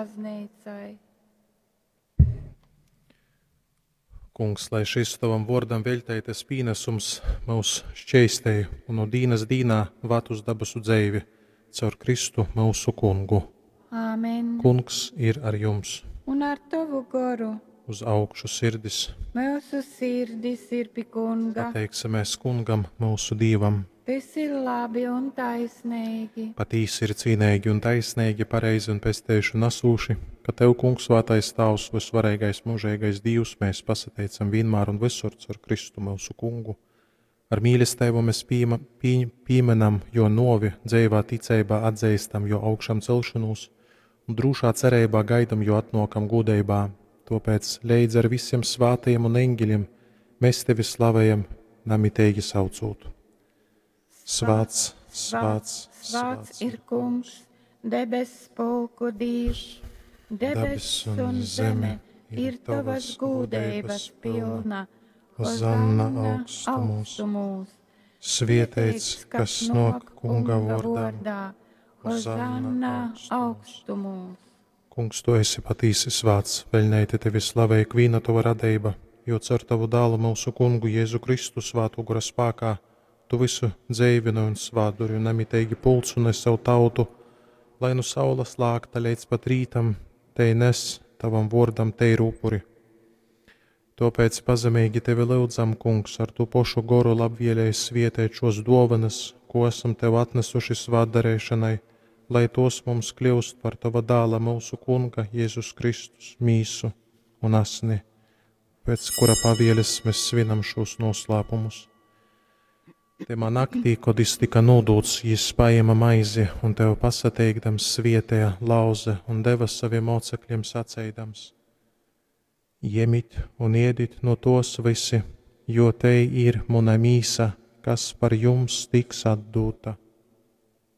Bazneicai. Kungs, lai šis tavam vōrdam veļteitais pīnesums myus šķeistej un nu dīnas dīnā vad uz dabasu dzeivi caur Kristu myusu Kungu. Āmen. Kungs ir ar jums. Un ar tovu goru. Uz augšu sirdis. Myusu sirdis ir pi Kunga. Pateiksimies Kungam, myusu Dīvam. Tys ir labi un taisneigi. Patīsi ir cīneigi un taisneigi, pareizi un pesteišu nasūši, ka Tev, Kungs, svātais Tāvs, vysvareigais mūžeigais Dīvs, mēs pasateicam vienmēr un visur caur Kristu myusu Kungu. Ar mīlesteibu mēs pīma, pī, pīmenam jo novi, dzeivā ticeibā atzīstam jo augšām celšanos un drūšā cereibā gaidam jo atnokam gūdeibā. Tāpēc leidz ar visiem svātajiem un eņģeļiem mēs Tevi slavējam, namiteigi saucot. Svāts, svāts, svāts ir Kungs, debess pulku Dīvs, debess un zeme ir tavas gūdeibas pilna. Hozanna augstumos. augstumos. Svietēts, kas nāk Kunga vārdā. Hozanna augstumos. Kungs, tu esi patīsi svāts, veļneiti tevi slavē ikvīna tava radeiba, jo caur tavu dālu mūsu kungu Jēzu Kristu svātu gora spākā, tu visu dzeivini un svātduri un nemiteigi pulcuni savu tautu, lai nu saules lākta līdz pat rītam, tei nes tavam vōrdam teiru upuri. Tāpēc pazemīgi tevi lūdzam, Kungs, ar tu pošu goru labvēlēji svietēt šos dovanas, ko esam tev atnesuši svātdarēšanai, lai tos mums kļūst par tava dāla mūsu Kunga Jēzus Kristus mīsu un asni, pēc kura pavieles mēs svinam šos noslēpumus. Tymā naktī, kod jis tika nūdūts, jis paēma maizi un tev pasateikdams svietēja lauze un deva saviem mocekļiem saceidams: Jemit un iedit no tos visi, jo te ir muna mīsa, kas par jums tiks atdūta.